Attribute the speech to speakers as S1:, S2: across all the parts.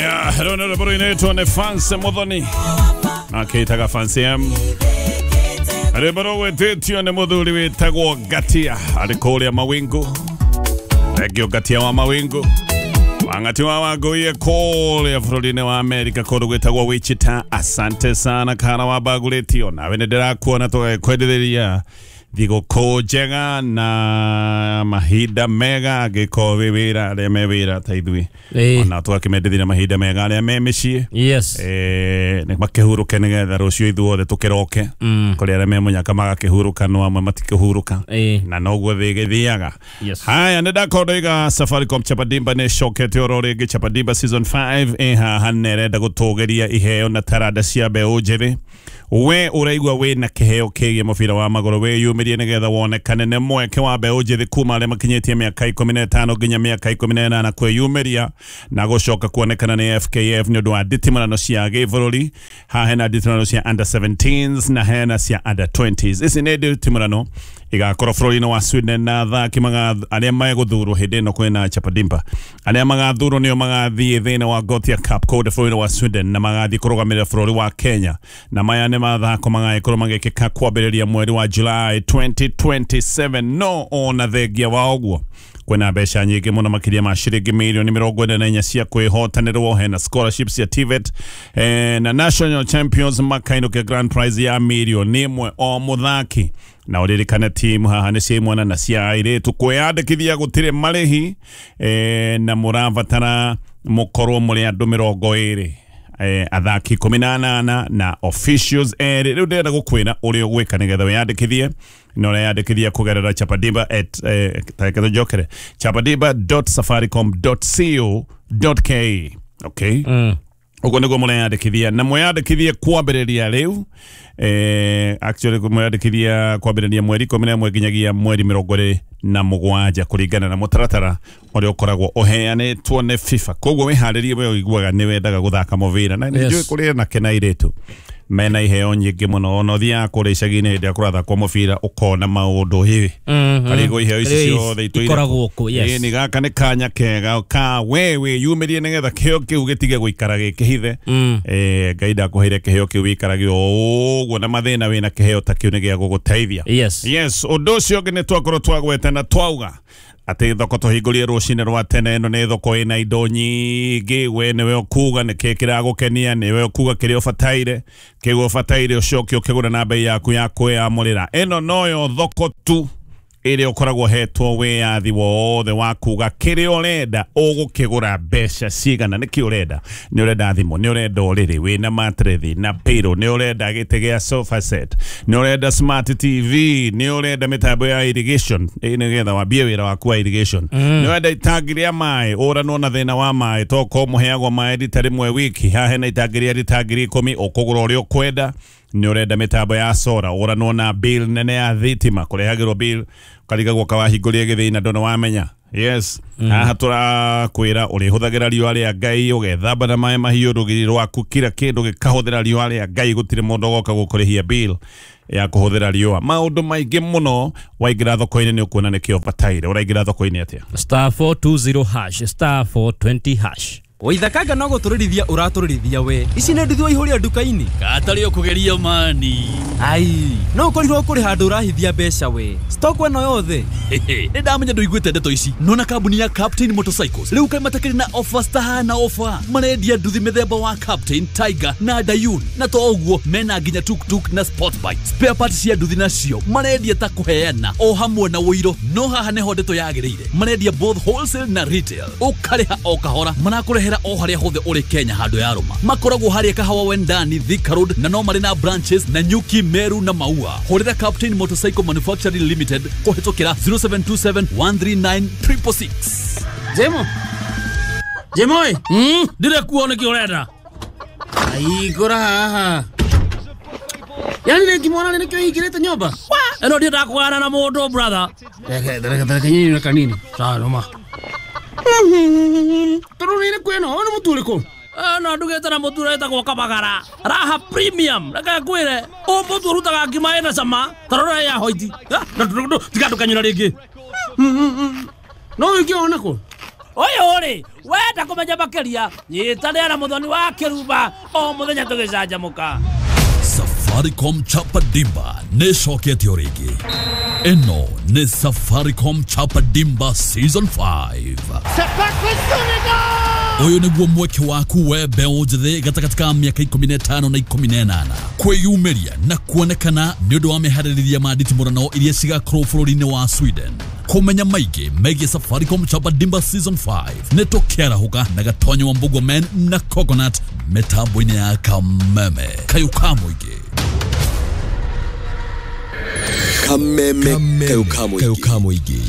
S1: Rwĩmbo rũinĩtwo nĩ Fancy Muthoni akĩitaga Fancy M. Rwĩmbo rũgwĩtĩtio nĩ mũthuri wĩtagwo Ngatia arĩ kũrĩa Mawingu. Thengio Ngatia wa Mawingu, Wang'ati wa Wangũiye kũrĩa bũrũri-inĩ wa Amerika kũndũ gwĩtagwo Wichita. Asante sana kana wa mbagũrĩtio nawe nĩ ndĩrakuona tũgagĩkwendithĩria thigũkũ njega na mahinda mega angĩkorwo wĩ wĩra arĩa me wĩra ta ithuĩ ona tũgakĩmendithĩria mahinda mega arĩa me mĩciĩ. Nĩ makĩhurũke nĩgetha rũciũ ithuothe tũkĩroke. Kũrĩ arĩa me mũnyaka magakĩhurũka no amwe matikĩhurũka na noguo thĩ ĩgĩthiaga. Haya, nĩ ndakorwo ndoiga Safaricom Chapadimba nĩ ĩcokete oro rĩngĩ. Chapadimba season 5 ĩ haha na ĩrenda gũtũgĩria iheo na taranda cia mbeũ njĩthĩ. We ũraigua wĩna kĩheo kĩgiĩ mũbira wa magũrũ, wĩyumĩrie nĩgetha wonekane. Nĩ mweke wa mbeũ njĩthĩ kuma arĩa makinyĩtie mĩaka 15 nginya mĩaka 18 kwĩyumĩria na gũcoka kuonekana nĩ FKF nĩ ũndũ wa nditimũrano cia gĩbũrũri. Haha hena nditimũrano cia under 17s na hena cia under 20s. Ici nĩ nditimũrano igakorwo bũrũri-inĩ wa Sweden na athaki arĩa megũthurwo hĩndĩ ĩno kwĩna Chapadimba, arĩa magathurwo nĩo magathiĩ thĩinĩ wa Gothia Cup kũndũ bũrũri-inĩ wa Sweden na magathiĩ kũrũgamĩrĩra bũrũri wa Kenya, na maya nĩ mathako magagĩkorwo magĩkĩka kwambĩrĩria mweri wa July 2027. No ona thengia wa ũguo kwĩna mbeca nyingĩ mũno makĩria ma ciringi mirioni 44 cia kwĩhotanĩrwo. Hena scholarships cia TVET na national champions makainũkia grand prize ya mirioni 1 o mũthaki. Na ũririkane timu haha nĩ cia imwana na cia airĩtu. Kwĩyandĩkithia gũtirĩ marĩhi na mũrabatara mũkorwo mũrĩ andũ 20, athaki 18 na officials 2. Rĩu ndĩrenda gũkwĩra ũrĩa ũgwĩka nĩgetha wĩyandĩkithie, na ũreyandĩkithia kũgerera chapadimba at tareke tũnjokere chapadimba.safaricom.co.ke. Okay, ũguo nĩguo mũreyandĩkithia, na mweyandĩkithie kwambĩrĩria rĩu, actually mweyandĩkithia kwambĩrĩria mweri 11 nginyagia mweri 27 kũringana na mũtaratara ũrĩa ũkoragwo ũheanĩtwo nĩ FIFA. Koguo wĩharĩrie, we ũiguaga nĩ wendaga gũthaka mũbira na nĩ njũĩ kũrĩ anake na airĩtu mena iheo nyingĩ mũno. Ona ũthiaga kũrĩa icagi-inĩ hĩndĩ ĩrĩa kũrathakwo mũbira ũkona maũndũ hĩ karĩgo iheo ici ciothe itũire
S2: ikoragwo kũ, yes.
S1: Ĩni gaka nĩ kanya kega ka we wĩyumĩrie nĩgetha kĩheo kĩu gĩtige gũikara gĩkĩhithe. Ngai ndakũheire kĩheo kĩu wĩikarage o ũguo na mathĩna, wĩna kĩheo ta kĩu nĩ gĩa gũgũteithia. Yes, ũndũ ũcio ũngĩ nĩ twakorwo twagweta na twauga atĩ thoko tũhingũrie rũcinĩ rwa tene. Ĩno nĩ thoko ĩna indo nyingĩ. We nĩwe ũkuga nĩkĩ kĩragũkenia, nĩwe ũkuga kĩrĩa ũbataire, kĩu ũbataire ũcoke ũkĩgũra na bei yaku ya kwĩyamũrĩra. Ĩno noyo thoko tu ĩrĩa ũkoragwo hetwo wĩyathi wothe wa kuga kĩrĩa ũrenda ũgũkĩgũra mbeca cigana. Nĩkĩ ũrenda? Nĩ ũrenda thimũ, nĩ ũrenda ũrĩrĩ wĩna matrethi na pillow, nĩ ũrenda gĩtĩ gĩa sofa set, nĩ ũrenda smart TV, nĩ ũrenda mĩtambo ya irrigation nĩgetha wambie wĩra waku wa irrigation, nĩ ũrenda itangi rĩa maĩ ũranwo na thĩna wa maĩ toko mũheagwo maĩ rita rĩmwe wiki, haha hena itangi rĩa rita 10,000 ũkũgũra ũrĩa ũkwenda. Nĩ ũrenda mĩtambo ya sora ũranwo na bill nene ya thitima, kũrehagĩrwo bill ũkarigagwo kawahingũria gĩthĩi na ndũnĩ wamenya. Yes, haha tũrakwĩra ũrĩhũthagĩra riũa rĩa Ngai, ũgethamba na maĩ mahiũ, rũgiri rwaku kila kĩndũ gĩkahũthĩra riũa rĩa Ngai, gũtirĩ mũndũ ũgoka gũkũrĩhia bill ya kũhũthĩra riũa. Maũndũ maingĩ mũno waingĩra thoko-inĩ nĩ ũkuona nĩkĩo ũbataire. Ũraingĩra thoko-inĩ atĩa?
S2: Star 420 hash, star 420 hash.
S3: Waithakanga no gũtũrĩrithia ũratũrĩrithia we. Ici nĩ nduthi waihũria nduka-inĩ.
S4: Gatarĩ ũkũgeria mani.
S3: Ai, no ũkorirwo kũrĩ handũ ũrahithia mbeca we. Stock ĩno yothe.
S4: Nĩ ndamenya ndũiguĩte ndeto ici. Nona kambuni ya Captain Motorcycles rĩu kaĩ matakĩrĩ na offers tahana offer. Marendia nduthi mĩthemba wa Captain, Tiger na Dayun, na to ũguo mena nginya tuktuk na sport bike. Spare parts cia nduthi nacio marendia ta kũheana o hamwe na ũiro. No haha nĩho ndeto yagĩrĩire, marendia both wholesale na retail, ũkarĩha o kahora. Marakũrehera o harĩa hothe ũrĩ Kenya handũ ya rũma. Makoragwo harĩa Kahawa Wendani, Thika Road, na no marĩ na branches na Nyuki, Meru na Maua. Hũrĩra Captain Motorcycle Manufacturing Limited kũhĩtũkĩra 0727 139 666.
S5: Jemo. Jemo ĩ.
S6: Ndire kuo nĩkĩ ũrenda?
S5: Aigũra haha. Yaani rĩngĩ mwana nĩkĩo hingĩrĩte nyũmba?
S6: Ĩno ndiendaga kũgana na mũndũ, brother.
S5: Reke reke reke nyini na kanini. Sawa noma. Tondũ nĩ ĩrĩkũ ĩno? Ũyũ nĩ mũtu ũrĩkũ?
S6: Ĩno ndugĩte na mũtu ũrĩa wĩtagwo Kabagara Raha Premium. Reke ngwĩre, ũyũ mũtu ũrutaga ngima ĩna cama ta rora ya hoiti. Tiga ndũkanyũra rĩngĩ.
S5: No ũngĩona kũ?
S6: Ũyũ rĩ wenda kũmenya makĩria nyitanĩra na Mũthoni wa Kĩrumba o mũthenya tũgĩcanjamũka.
S4: Safaricom Chapa Dimba nĩ ĩcokete o rĩngĩ. Ĩno nĩ Safaricom Chapa Dimba Season 5. Ũyũ nĩguo mweke waku we mbeũ njĩthĩ gatagatĩ ka mĩaka 15 na 18 kwĩyumĩria na kuonekana nĩ ũndũ wa meharĩrĩria ma nditimũrano iria cigakorwo bũrũri-inĩ wa Sweden. Kũmenya maingĩ megiĩ Safaricom Chapa Dimba Season 5 nĩ tũkĩarahũka na Gatonyo wa Mbugua Men na Coconut mĩtambo-inĩ ya Kameme kayũ ka mũingĩ.
S7: Kameme kayũ ka mũingĩ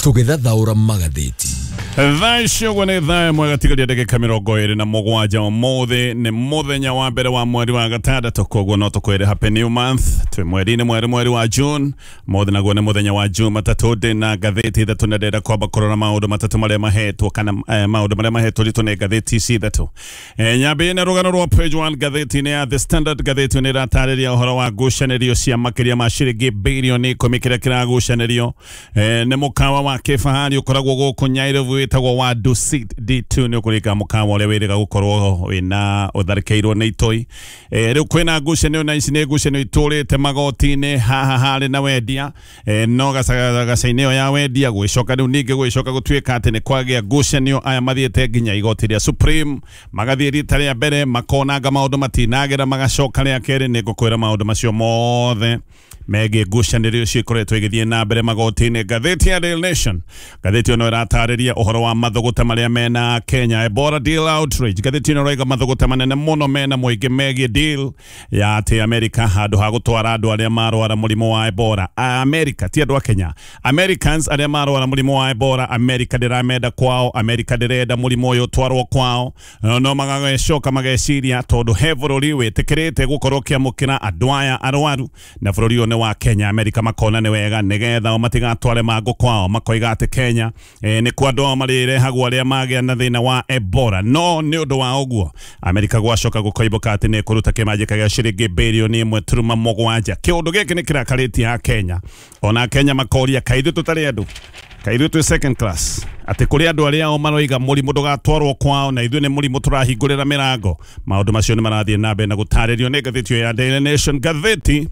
S7: tũgĩthathaũra magathĩti.
S1: Thaa ici ũguo nĩ thaa ĩmwe gatigaria ndagĩka 27 ũmũthĩ nĩ mũthenya wa mbere wa mweri wa gatandatũ, koguo no tũkwĩre happy new month. Twĩ mweri-inĩ mwerũ, mweri wa June. Mũthĩ naguo nĩ mũthenya wa Jumatatũ. Ndĩ na ngathĩti ithatũ na ndĩrenda kwamba kũrora maũndũ matatũ marĩa mahetwo kana maũndũ marĩa mahetwo ritũ nĩ ngathĩti ici ithatũ. Nyambĩrĩrie na rũgano rwa page 1 ngathĩti-inĩ ya The Standard. Ngathĩti nĩ ĩratarĩria ũhoro wa ngucanĩrio cia makĩria ma ciringi birioni 10 kĩrĩa kĩragucanĩrio nĩ mũkawa wa kĩfahari ũkoragwo gũkũ Nyairobi wĩtagwo wa Dusit D2. Nĩ ũkũrĩka mũkawa ũrĩa wĩrĩga gũkorwo wĩna ũtharĩkĩirwo nĩ itoi. Rĩu kwĩna ngucanio na ici nĩ ngucanio itũrĩte magoti-inĩ haha harĩ na wendia, no gaca-inĩ ĩyo ya wendia gwĩcoka rĩu ningĩ gwĩcoka gũtuĩka atĩ nĩ kwagĩa ngucanio. Aya mathiĩte nginya igoti rĩa Supreme, magathiĩ rita rĩa mbere makonanga maũndũ matinagĩra, magacoka rĩa kerĩ. Nĩ ngũkwĩra maũndũ macio mothe megiĩ ngucanĩrio icio ikoretwo igĩthiĩ na mbere magoti-inĩ. Ngathĩti ya Daily Nation, ngathĩti ĩno ĩratarĩria ũhoro wa mathũgũta marĩa mena Kenya, Ebola deal outrage. Ngathĩti ĩno ĩrauga mathũgũta manene mũno mena mũingĩ megiĩ deal ya atĩ America handũ ha gũtwara andũ arĩa marwara mũrimũ wa Ebola. America ti andũ a Kenya, Americans arĩa marwara mũrimũ wa Ebola, America ndĩramenda kwao, America ndĩrenda mũrimũ ũyũ ũtwarwo kwao. No magacoka mageciria tondũ he bũrũri wĩtĩkĩrĩte gũkorwo ũkĩamũkĩra andũ aya arwaru na bũrũri ũyũ nĩ wa Kenya. America makona nĩ wega nĩgetha o matigatware mangũ kwao, makoiga atĩ Kenya nĩ kwa andũ ao marĩrehagwo arĩa magĩa na thĩna wa Ebola. No nĩ ũndũ wa ũguo America gwacoka gũkoimbũka atĩ nĩ ĩkũruta kĩmanjĩka gĩa ciringi birioni 1.7. Kĩũndũ gĩkĩ nĩ kĩrakarĩtie a Kenya, ona Kenya makoria kaĩ ithuĩ tũtarĩ andũ, kaĩ ithuĩ twĩ second class, atĩ kũrĩ andũ arĩa o maroiga mũrimũ ndũgatwarwo kwao na ithuĩ nĩ mũrimũ tũrahingũrĩra mĩrango. Maũndũ macio nĩ marathiĩ na mbere na gũtarĩrio nĩ ngathĩti ĩyo ya Daily Nation. Ngathĩti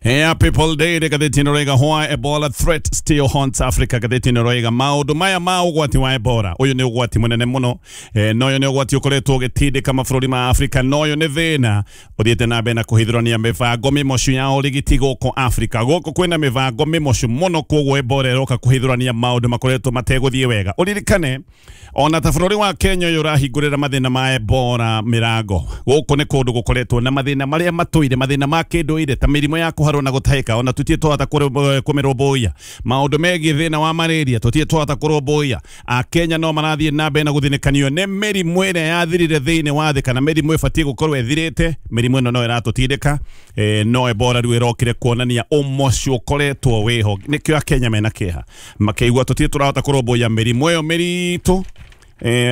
S1: ya People Daily, ngathĩti ĩno ĩroiga why Ebola threat still haunts Africa. Ngathĩti ĩno ĩroiga maũndũ maya ma ũgwati wa Ebola, ũyũ nĩ ũgwati mũnene mũno, na ũyũ nĩ ũgwati ũkoretwo ũgĩtindĩka mabũrũri ma Africa, na ũyũ nĩ thĩna ũthiĩte na mbere na kũhithũrania mĩbango mĩmocu ya ũrigiti gũkũ Africa. Gũkũ kwĩna mĩbango mĩmocu mũno, koguo Ebola ĩroka kũhithũrania maũndũ makoretwo mategũthiĩ wega. Ũririkane ona ta bũrũri wa Kenya ũyũ ũrahingũrĩra mathĩna ma Ebola mĩrango, gũkũ nĩ kũndũ gũkoretwo na mathĩna marĩa matũire, mathĩna ma kĩndũire ta mĩrimũ ya kũharwo na gũtahĩka, ona tũtirĩ twahota kũmĩrũmbũiya. Maũndũ megiĩ thĩna wa malaria tũtirĩ twahota kũrũmbũiya. Akenya no marathiĩ na mbere na gũthinĩkanio nĩ mĩrimũ ĩrĩa yathirire thĩinĩ wa thĩ, kana mĩrimũ ĩbatiĩ gũkorwo ĩthirĩte. Mĩrimũ ĩno no ĩratũtindĩka, no Ebola rĩu ĩrokire kuonania ũmocu ũkoretwo wĩho. Nĩkĩo Akenya mena kĩeha, makĩigua tũtirĩ tũrahota kũrũmbũiya mĩrimũ ĩyo mĩritũ,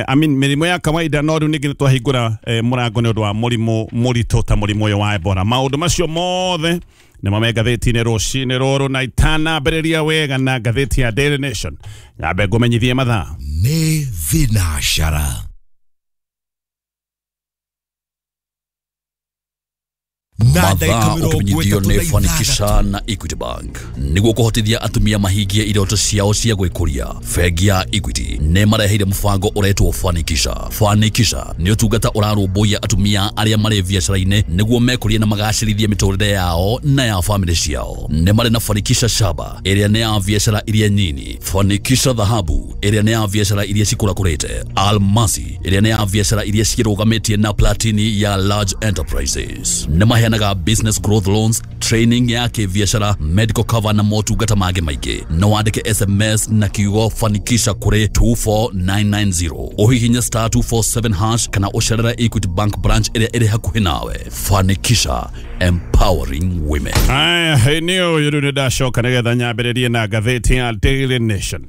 S1: I mean mĩrimũ ya kawaida, no rĩu ningĩ nĩtwahingũra mũrango nĩ ũndũ wa mũrimũ mũritũ ta mũrimũ ũyũ wa Ebola. Maũndũ macio mothe nĩmo me ngathĩti-inĩ rũcinĩ rũrũ, na itanambĩrĩria wega na ngathĩti ya Daily Nation, nyambe ngũmenyithie mathaa
S7: nĩ thinacara.
S4: Mathaa ũkĩmenyithio nĩ Fanikisha na Equity Bank nĩguo kũhotithia atumia mahingie iroto ciao cia gwĩkũria. Bengi ya Equity nĩ mareheire mũbango ũretwo Fanikisha. Fanikisha nĩ ũtungata ũrarũmbũiya atumia arĩa marĩ biacara-inĩ nĩguo mekũrie na magacĩrithie mĩtũrĩre yao na ya famĩlĩ ciao. Nĩ marĩ na Fanikisha Shaba ĩrĩa nĩ ya biacara iria nyini, Fanikisha Dhahabu ĩrĩa nĩ ya biacara iria cikũrakũrĩte, Almasi ĩrĩa nĩ ya biacara iria cirũgamĩtie na Platini ya large enterprises. Nĩ maheanaga business growth loans, training ya kĩbiacara, medical cover na motungata mangĩ maingĩ. No wandĩke SMS na kiugo Fanikisha kũrĩ 24990, ũhihinye star 247 hash kana ũcerere Equity Bank branch ĩrĩa ĩrĩ hakuhĩ nawe. Fanikisha, empowering women.
S1: Aya, nĩ ũyũ rĩu nĩ ndacoka nĩgetha nyambĩrĩrie na ngathĩti ya Daily Nation.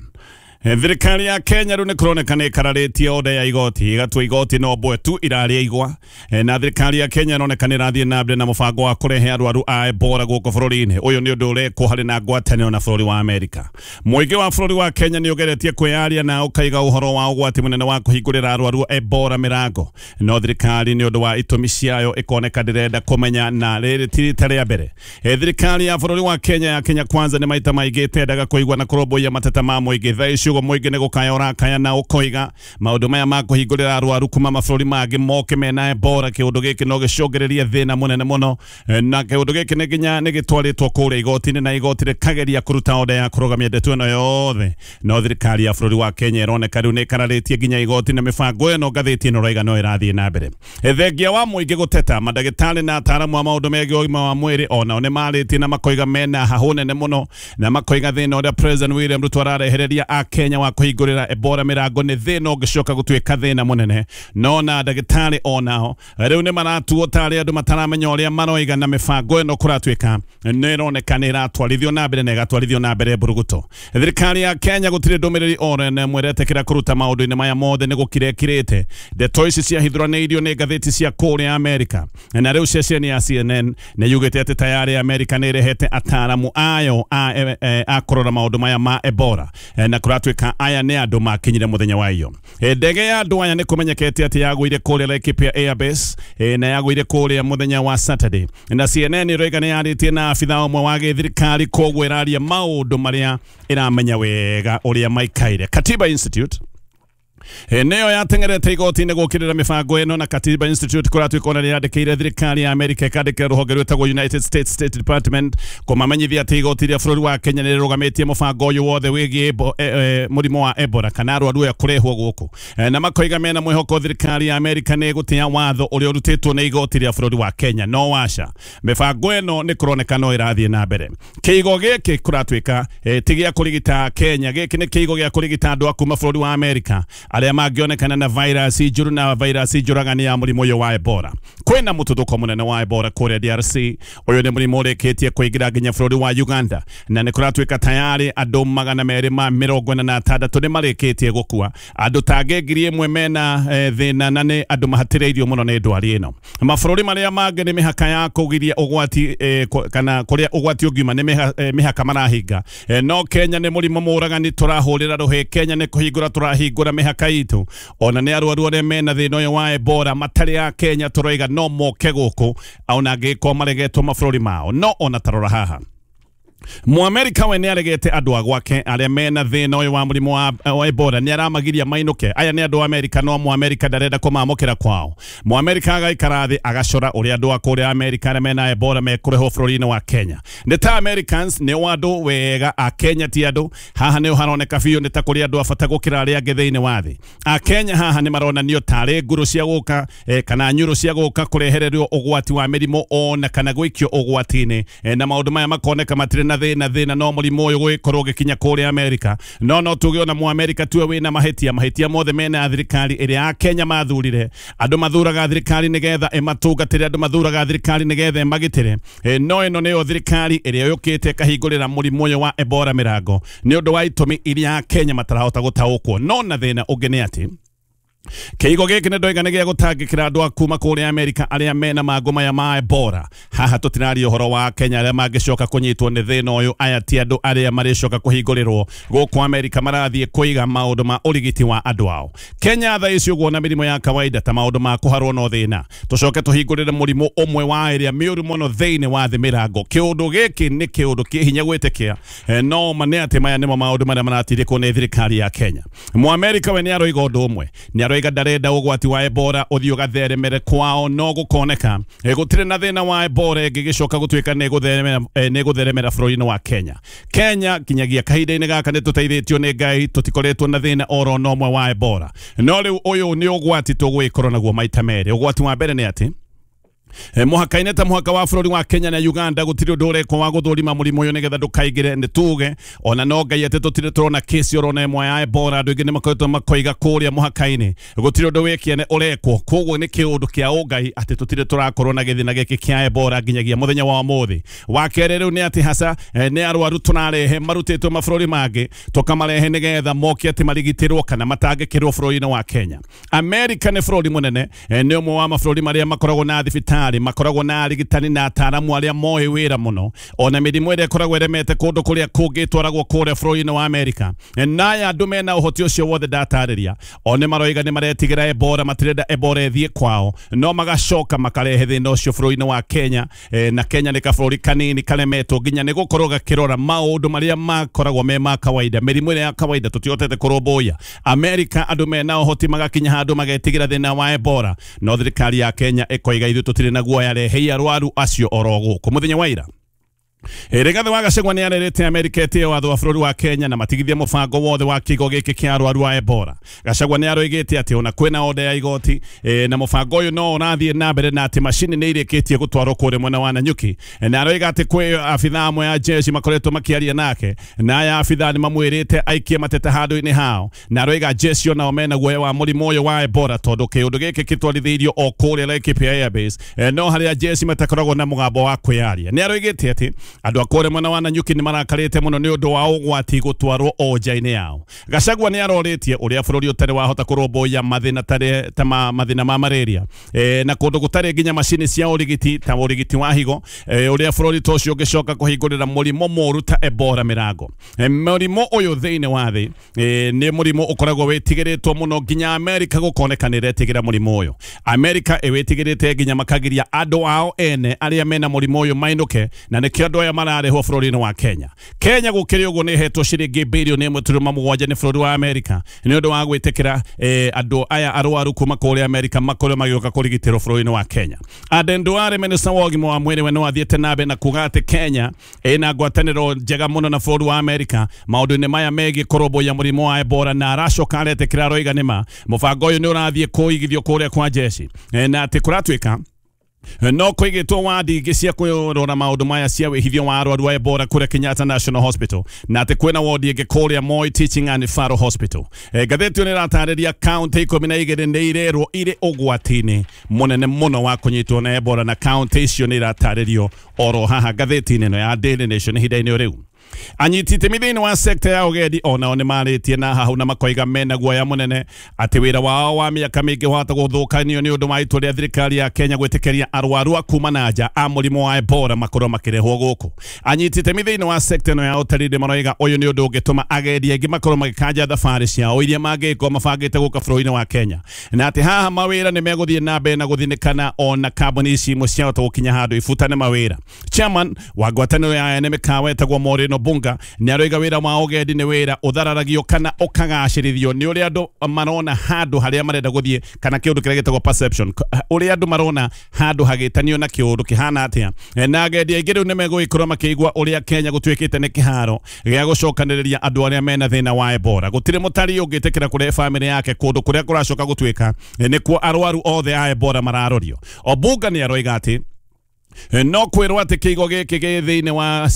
S1: Thirikari ya Kenya rĩu nĩ kũroneka nĩ ĩkararĩtie oda ya igoti ĩgatua igoti no mbwe tu irarĩa igwa. Na thirikari ya Kenya ĩroneka nĩ ĩrathiĩ na mbere na mũbango wa kũrehe arwaru a Ebola gũkũ bũrũri-inĩ. Ũyũ nĩ ũndũ ũrekwo harĩ na ngwatanĩro na bũrũri wa Amerika. Mũingĩ wa bũrũri wa Kenya nĩ ũgeretie kwĩyaria na ũkaiga ũhoro wa ũgwati mũnene wa kũhingũrĩra arwaru a Ebola mĩrango, no thirikari nĩ ũndũ wa itũmi ciayo ĩkoneka ndĩrenda kũmenya, na rĩrĩ ti rita rĩa mbere. Thirikari ya bũrũri wa Kenya ya Kenya Kwanza nĩ maita maingĩ ĩtendaga kũigua na kũrũmbũiya mateta ma mũingĩ. Thaa ici ũguo mũingĩ nĩ gũkaya ũrakaya na ũkoiga maũndũ maya ma kũhingũrĩra arwaru kuma mabũrũri mangĩ moke mena Ebola, kĩũndũ gĩkĩ no gĩcũngĩrĩrie thĩna mũnene mũno. Na kĩũndũ gĩkĩ nĩ nginya nĩ gĩtwarĩtwo kũrĩa igoti-inĩ na igoti rĩkageria kũruta oda ya kũrũgamia ndeto ĩno yothe, no thirikari ya bũrũri wa Kenya ĩroneka rĩu nĩ ĩkararĩtie nginya igoti na mĩbango ĩno ngathĩti ĩno ĩroiga no ĩrathiĩ na mbere. Thengia wa mũingĩ gũteta, mandagĩtarĩ na ataaramu a maũndũ megiĩ ũgima wa mwĩrĩ onao nĩ marĩtie na makoiga mena hahũ nene mũno, na makoiga thĩna ũrĩa President William Ruto ararehereria a Kenya wa kũhingũrĩra Ebola mĩrango nĩ thĩna ũngĩcoka gũtuĩka thĩna mũnene. No na ndagĩtarĩ onao rĩu nĩ maratuo tarĩ andũ mataramenya ũrĩa maroiga, na mĩbango ĩno kũratuĩka nĩ ĩroneka nĩ ĩratwarithio na mbere na ĩgatwarithio na mbere mburuguto. Thirikari ya Kenya gũtirĩ ndũmĩrĩri oro na ĩmwe ĩretĩkĩra kũruta maũndũ-inĩ maya mothe nĩ gũkira ĩkirĩte. Ndeto ici ciahithũranĩirio nĩ ngathĩti cia kũrĩa Amerika, na rĩu ceceni ya CNN nĩ yugĩte atĩ tayarĩ Amerika nĩ ĩrehete ataaramu ayo a kũrora maũndũ maya ma Ebola, na kũratuĩka aya nĩ andũ makinyire mũthenya wa iyo. Ndege ya andũ aya nĩ kũmenyekete atĩ yagũire kũrĩa Laikipia Airbase, na yagũire kũrĩa mũthenya wa Saturday, na CNN ĩroiga nĩ yarĩtie na abitha ũmwe wa gĩthirikari, koguo ĩraria maũndũ marĩa ĩramenya wega ũrĩa maikaire. Katiba Institute nĩyo yateng'erete igoti-inĩ gũkĩrĩra mĩbango ĩno, na Katiba Institute kũratuĩka ona nĩyandĩkĩire thirikari ya Amerika ĩkandĩkĩra rũhonge rwĩtagwo United States State Department kũmamenyithia atĩ igoti rĩa bũrũri wa Kenya nĩrĩrũgamĩtie mũbango ũyũ wothe wĩgiĩ mũrimũ wa Ebola kana arwaru aya kũrehwo gũkũ, na makoiga mena mwĩhoko thirikari ya Amerika nĩ ĩgũtĩa watho ũrĩa ũrutĩtwo nĩ igoti rĩa bũrũri wa Kenya. No waca, mĩbango ĩno nĩ kũroneka no ĩrathiĩ na mbere. Kĩigo gĩkĩ kũratuĩka ti gĩa kũrigita Kenya, gĩkĩ nĩ kĩigo gĩa kũrigita andũ a kuma bũrũri wa Amerika arĩa mangĩonekana na virus njũru na virus njũragani ya mũrimũ ũyũ wa Ebola. Kwĩna mũtuthũko mũnene wa Ebola kũrĩa DRC. Ũyũ nĩ mũrimũ ũrĩkĩtie kũingĩra nginya bũrũri wa Uganda, na nĩ kũratuĩka tayarĩ andũ 246 nĩ marĩkĩtie gũkua, andũ tangĩ 1000 mena thĩna, na nĩ andũ mahatĩrĩirio mũno nĩ ndwari ĩno. Mabũrũri marĩa mangĩ nĩ mĩhaka ya kũgiria ũgwati kana kũrĩa ũgwati ũngiuma nĩ mĩhaka marahinga. No Kenya nĩ mũrimũ mũragani tũrahũrĩra rũhĩ. Kenya nĩ kũhingũra tũrahingũra mĩhaka itũ, ona nĩ arwaru arĩa mena thĩna ũyũ wa Ebola matarĩ a Kenya tũroiga no moke gũkũ, ona angĩkorwo maregetwo mabũrũri mao. No ona tarora haha, Mũamerika we nĩ aregete andũ a gwake arĩa mena thĩna ũyũ wa mũrimũ wa Ebola, nĩ aramagiria mainũke. Aya nĩ andũ a Amerika, no Mũamerika ndarenda kũmamũkĩra kwao. Mũamerika agaikara thĩ agacora ũrĩa andũ a kũrĩa Amerika arĩa mena Ebola mekũrehwo bũrũri-inĩ wa Kenya. Nĩ ta Americans nĩ andũ wega, a Kenya ti andũ. Haha nĩ haroneka biũ nĩ ta kũrĩ andũ a bata gũkĩra arĩa angĩ thĩinĩ wa thĩ. A Kenya haha nĩ maronanio tarĩ nguru cia gũka kana nyũrũ cia gũka kũrehererio ũgwati wa mĩrimũ ona kana gũikio ũgwati-inĩ, na maũndũ maya makoneka matirĩ na thĩna, no mũrimũ ũyũ gũgĩkorwo ũgĩkinya kũrĩa Amerika. No tuge ona Mũamerika tuwe wĩna mahĩtia mothe mena thirikari ĩrĩa a Kenya mathurire. Andũ mathuraga thirikari nĩgetha ĩmatungatĩre, andũ mathuraga thirikari nĩgetha ĩmagitĩre. No ĩno nĩyo thirikari ĩrĩa yũkĩte ĩkahingũrĩra mũrimũ ũyũ wa Ebola mĩrango nĩ ũndũ wa itũmi iria a Kenya matarahota gũtaũkwo. No na thĩna ũngĩ nĩ atĩ kĩigo gĩkĩ nĩ ndoiga nĩ gĩa gũtangĩkĩra andũ a kuma kũrĩa Amerika arĩa mena mangũ maya ma Ebola. Haha tũtiraria ũhoro wa Kenya arĩa mangĩcoka kũnyitwo nĩ thĩna ũyũ. Aya ti andũ arĩa marĩcoka kũhingũrĩrwo gũkũ Amerika, marathiĩ kũiga maũndũ ma ũrigiti wa andũ ao. Kenya thaa ici ũguo na mĩrimũ ya kawaida ta maũndũ ma kũharwo no thĩna, tũcoke tũhingũrĩre mũrimũ ũmwe wa ĩrĩa mĩũru mũno thĩinĩ wa thĩ mĩrango. Kĩũndũ gĩkĩ nĩ kĩũndũ kĩ hinya gwĩtĩkia, no ma nĩ atĩ maya nĩmo maũndũ marĩa maratindĩkwo nĩ thirikari ya Kenya. Mũamerika we nĩ aroiga ũndũ ũmwe, nĩ aroiga ndarenda ũgwati wa Ebola ũthiĩ ũgatheremere kwao, no gũkoneka gũtirĩ na thĩna wa Ebola ĩngĩgĩcoka gũtuĩka nĩ ĩgũtheremera bũrũri-inĩ wa Kenya. Kenya nginyagia kahinda-inĩ gaka nĩ tũteithĩtio nĩ Ngai, tũtikoretwo na thĩna oro na ũmwe wa Ebola. No rĩu ũyũ nĩ ũgwati tũgwĩkorwo naguo maita merĩ. Ũgwati wa mbere nĩ atĩ Mũhaka-inĩ ta mũhaka wa bũrũri wa Kenya na Uganda gũtirĩ ũndũ ũrekwo wa gũthũrima mũrimũ ũyũ nĩgetha ndũkaingĩre. Nĩ tuge ona no Ngai atĩ tũtirĩ tũrona kesi orona ĩmwe ya Ebola. Andũ aingĩ nĩ makoretwo makoiga kũrĩa mũhaka-inĩ gũtirĩ ũndũ wĩkĩene ũrekwo, koguo nĩ kĩũndũ kĩa ũngai atĩ tũtirĩ tũrakorwo na gĩthĩna gĩkĩ kĩa Ebola nginyagia mũthenya wa ũmũthĩ. Wa kerĩ rĩu nĩ atĩ haca nĩ arwaru tũrarehe marutĩtwo mabũrũri mangĩ tũkamarehe nĩgetha moke atĩ marigitĩrwo kana matangĩkĩrwo bũrũri-inĩ wa Kenya. Amerika nĩ bũrũri mũnene, nĩ ũmwe wa mabũrũri marĩa makoragwo na thibitarĩ, makoragwo na arigitani na ataaramu arĩa moĩ wĩra mũno, ona mĩrimũ ĩrĩa ĩkoragwo ĩremete kũndũ kũrĩa kũngĩ ĩtwaragwo kũrĩa bũrũri-inĩ wa Amerika. Naya andũ mena ũhoti ũcio wothe ndatarĩria, o nĩ maroiga nĩ maretigĩra Ebola, matirenda Ebola ĩthiĩ kwao, no magacoka makarehe thĩna ũcio bũrũri-inĩ wa Kenya. Na Kenya nĩ kabũrũri kanini karemetwo nginya nĩ gũkorwo gakĩrora maũndũ marĩa makoragwo me ma kawaida, mĩrimũ ĩrĩa ya kawaida tũtihotete kũrũmbũiya. Amerika andũ mena ũhoti magakinya handũ magetigĩra thĩna wa Ebola, no thirikari ya Kenya ĩkoiga ithuĩ tũtirĩ na guoya, rehei arwaru acio oro gũkũ. Mũthenya wa ira Rigathi wa Gachagua nĩ arerĩte Amerika ĩtĩe watho wa bũrũri wa Kenya na matigithie mũbango wothe wa kĩgo gĩkĩ kĩa arwaru a Ebola. Gachagua nĩ aroigĩte atĩ ona kwĩna oda ya igoti na mũbango ũyũ no ũrathiĩ na mbere na atĩ macini nĩ irĩkĩtie gũtwarwo kũrĩa mwena wa Nanyuki. Na aroiga atĩ kwĩ abithaa amwe a jeshi makoretwo makĩaria nake, na aya abithaa nĩ mamwĩrĩte aikie mateta handũ-inĩ hao, na aroiga jeshi onao mena guoya wa mũrimũ ũyũ wa Ebola tondũ kĩũndũ gĩkĩ kĩtwarithĩirio o kũrĩa Laikipia Airbase, no harĩa jeshi matakoragwo na mũgambo wa kwĩyaria. Nĩ aroigĩte atĩ andũ a kũrĩa mwena wa Nanyuki nĩ marakarĩte mũno nĩ ũndũ wa ũgwati gũtwarwo o nja-inĩ yao. Gachagua nĩ arorĩtie ũrĩa bũrũri ũtarĩ wahota kũrũmbũiya mathĩna ta mathĩna ma malaria, na kũndũ gũtarĩ nginya macini cia ũrigiti ta ũrigiti wa higo, ũrĩa bũrũri ta ũcio ũngĩcoka kũhingũrĩra mũrimũ mũũru ta Ebola mĩrango. Mũrimũ ũyũ thĩinĩ wa thĩ nĩ mũrimũ ũkoragwo wĩtigĩrĩtwo mũno nginya Amerika gũkoneka nĩ ĩretigĩra mũrimũ ũyũ. Amerika ĩwĩtigĩrĩte nginya makagiria andũ ao ene arĩa mena mũrimũ ũyũ mainũke, na nĩkĩo andũ aya mararehwo bũrũri-inĩ wa Kenya. Kenya gũkĩrĩ ũguo nĩ ĩhetwo ciringi birioni 1.7 nĩ bũrũri wa Amerika nĩ ũndũ wa gwĩtĩkĩra andũ aya arwaru kuma kũrĩa Amerika makorwo magĩũka kũrigitĩrwo bũrũri-inĩ wa Kenya. Aden Duale, minista wa ũgima wa mwĩrĩ, we no athiĩte na mbere na kuga atĩ Kenya ĩna ngwatanĩro njega mũno na bũrũri wa Amerika maũndũ-inĩ maya megiĩ kũrũmbũiya mũrimũ wa Ebola, na aracoka aretĩkĩra aroiga nĩma mũbango ũyũ nĩ ũrathiĩ kũigithio kũrĩa kwa jeshi, na atĩ kũratuĩka no kũigĩtwo wadi ingĩ cia kũrora maũndũ maya cia wĩhithio wa arwaru a Ebola kũrĩa Kenyatta National Hospital, na atĩ kwĩna wodi ĩngĩ kũrĩa Moi Teaching and Referral Hospital. Ngathĩti ĩyo nĩ ĩratarĩria kaũntĩ 12 nĩ irerwo irĩ ũgwati-inĩ mũnene mũno wa kũnyitwo na Ebola, na kaũntĩ icio nĩ iratarĩrio oro haha ngathĩti-inĩ ĩno ya Daily Nation ihinda-inĩ rĩu. Anyiti itemi thĩinĩ wa sekta ya ũgendi onao nĩ marĩtie na hahu na makoiga mena guoya mũnene atĩ wĩra wao wa mĩaka mĩingĩ wahota gũthũkanio nĩ ũndũ wa itua rĩa thirikari ya Kenya gwĩtĩkĩria arwaru a kuma na nja a mũrimũ wa Ebola makorwo makĩrehwo gũkũ. Anyiti itemi thĩinĩ wa sekta ĩno ya ũtalii nĩ maroiga ũyũ nĩ ũndũ ũngĩtũma agendi aingĩ makorwo magĩkanja thabarĩ ciao iria mangĩkorwo mabangĩte gũka bũrũri-inĩ wa Kenya, na atĩ haha mawĩra nĩ megũthiĩ na mbere na gũthinĩkana ona kambuni ici imwe ciahota gũkinya handũ ibutane mawĩra. Chairman wa ngwatanĩro ya ene mĩkawa etagwo Maureen Obunga nĩ aroiga wĩra wa ũgendi nĩ wĩra ũthararagio kana ũkagacĩrithio nĩ ũrĩa andũ marona handũ harĩa marenda gũthiĩ, kana kĩũndũ kĩrĩa gĩtagwo perception, ũrĩa andũ marona handũ hagĩtanio na kĩũndũ kĩhana atĩa. Na agendi aingĩ rĩu nĩ megũgĩkorwo makĩigua ũrĩa Kenya gũtuĩkĩte nĩ kĩharo gĩa gũcokanĩrĩria andũ arĩa mena thĩna wa Ebola. Gũtirĩ mũtarii ũngĩtĩkĩra kũrehe bamĩrĩ yake kũndũ kũrĩa kũracoka gũtuĩka nĩkuo arwaru othe a Ebola mararorio. Obunga nĩ aroiga atĩ no kwĩrwo atĩ kĩigo gĩkĩ gĩ thĩinĩ wa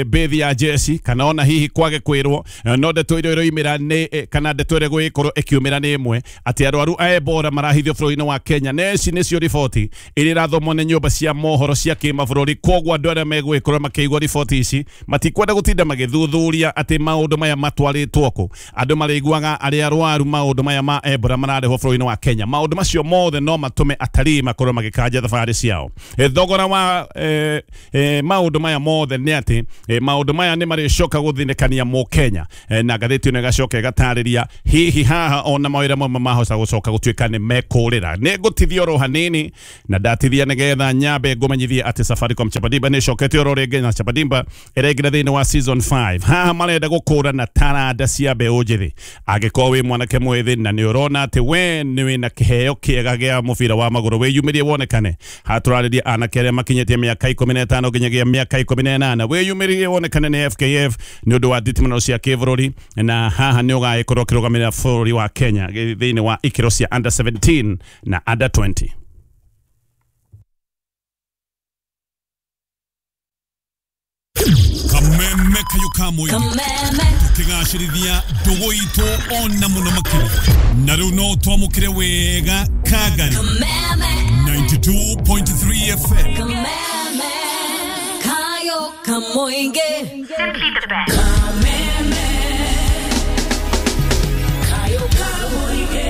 S1: bĩthi ya jeshi, kana ona hihi kwage kwĩrwo, no ndeto iria iroimĩra nĩ kana ndeto ĩrĩa ĩgũgĩkorwo ĩkiumĩra nĩ ĩmwe atĩ arwaru a Ebola marahithio bũrũri-inĩ wa Kenya, na ici nĩcio riboti iria irathomwo nĩ nyũmba cia mohoro cia kĩmabũrũri. Koguo andũ arĩa megũgĩkorwo makĩigua riboti ici matikwenda gũtinda magĩthuthuria atĩ maũndũ maya matwarĩtwo kũ. Andũ marĩiguaga arĩa arwaru maũndũ maya ma Ebola mararehwo bũrũri-inĩ wa Kenya. Maũndũ macio mothe no matũme atarii makorwo magĩkanja thabarĩ ciao. Thogora wa maũndũ maya mothe nĩ atĩ maũndũ maya nĩ marĩcoka gũthinĩkania mũkenya, na ngathĩti ĩno ĩgacoka ĩgatarĩria hihi haha ona mawĩra mamwe mahota gũcoka gũtuĩka nĩ mekũrĩra. Nĩ ngũtithia oro hanini na ndatithia nĩgetha nyambe ngũmenyithie atĩ Safaricom Chapadimba nĩ ĩcokete oro rĩngĩ, na Chapadimba ĩraingĩra thĩinĩ wa season 5. Haha marenda gũkũrana taranda cia mbeũ njĩthĩ. Angĩkorwo wĩ mwanake mwĩthĩ na nĩ ũrona atĩ we nĩ wĩna kĩheo kĩega gĩa mũbira wa magũrũ, wĩyumĩrie wonekane. Haha tũrarĩria anake arĩa makinyĩtie mĩaka 15 nginyagia mĩaka 18, wĩyumĩrie wonekane nĩ FKF nĩ ũndũ wa nditimũrano cia kĩbũrũri, na haha nĩ ũgagĩkorwo ũkĩrũgamĩrĩra bũrũri wa Kenya thĩinĩ wa ikĩro cia under 17 na under 20. Kayũ ka Mũingĩ tũkĩgacĩrithia ndũgũ itũ ona mũno makĩria. Na rĩu no twamũkĩre wega Kangari 92.3 FM.
S8: Kayo Kamoinge.
S9: Simply the best.
S8: Kayo Kamoinge.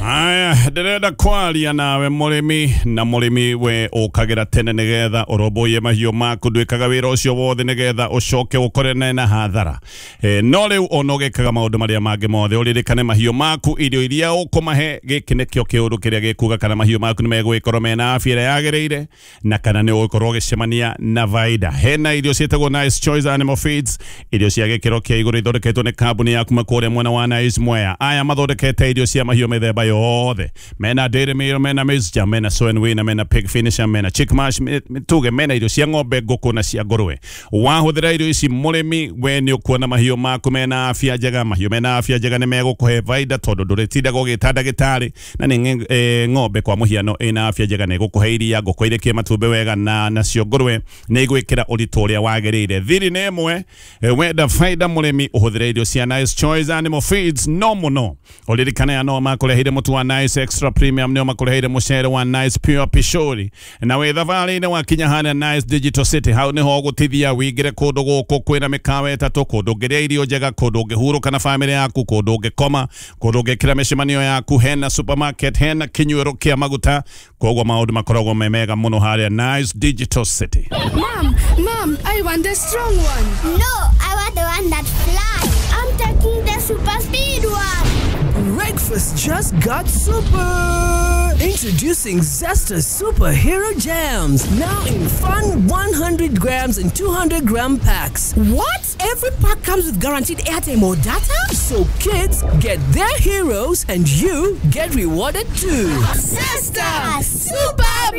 S1: Aya, ndĩrenda kwaria nawe mũrĩmi na mũrĩmi we ũkagĩra tene nĩgetha ũrũmbũiye mahiũ maku, ndwĩkaga wĩra ũcio wothe nĩgetha ũcoke ũkorene na hathara. No rĩu ona ũgĩkaga maũndũ marĩa mangĩ mothe ũririkane mahiũ maku irio iria ũkũmahe, gĩkĩ nĩkĩo kĩũndũ kĩrĩa gĩkuga kana mahiũ maku nĩmegũgĩkorwo mena afya ĩrĩa yagĩrĩire na kana nĩ ũgũkorwo ũgĩcemania na baida. Hena irio ciĩtagwo Nice Choice Animal Feeds, irio cia gĩkĩro kĩa igũrũ ithondeketwo nĩ kambuni ya kuma kũrĩa mwena wa Nice Mwea. Aya mathondekete irio cia mahiũ mĩthemba yothe, mena dairy meal, mena maize, mena soy and wheat, mena pig finisher, mena chick mash, tuge mena irio cia ng'ombe, ngũkũ na cia ngũrwe. Wahũthĩra irio ici mũrĩmi, we nĩ ũkuona mahiũ maku mena afya njega. Mahiũ mena afya njega nĩ megũkũhe baida tondũ ndũrĩtindaga ũgĩta ndagĩtarĩ, na nĩ ng'ombe kwa mũhiano ĩna afya njega nĩ ĩgũkũhe iria, ngũkũ irekie matumbĩ wega, na nacio ngũrwe nĩ igwĩkĩra ũritũ ũrĩa wagĩrĩire. Thiri nĩ ĩmwe, wenda baida mũrĩmi ũhũthĩre irio cia Nice Choice Animal Feeds no mũno. Ũririkane aya no makũreheire mũtu wa Nice Extra Premium, nĩo makũreheire mũcere wa Nice Pure Pishori, na wĩ thabarĩ-inĩ wakinya harĩa Nice Digital City, hau nĩho ũgũtithia wĩingĩre kũndũ gũkũ kwĩna mĩkawa ĩtatũ, kũndũ ũngĩrĩa irio njega, kũndũ ũngĩhurũka na bamĩrĩ yaku, kũndũ ũngĩkoma, kũndũ ũngĩkĩra mĩcemanio yaku, hena supermarket, hena kĩnyuĩro kĩa maguta. Koguo maũndũ makoragwo me mega mũno harĩa Nice Digital City.
S10: Mom, Mom, I want the strong one.
S11: No, I want the one that flies. I'm taking the super speed one.
S12: Breakfast just got super! Introducing Zesta Superhero Jams, now in fun 100 grams and 200 gram packs.
S13: What? Every pack comes with guaranteed airtime or data?
S12: So kids get their heroes and you get rewarded too.
S11: Zesta Super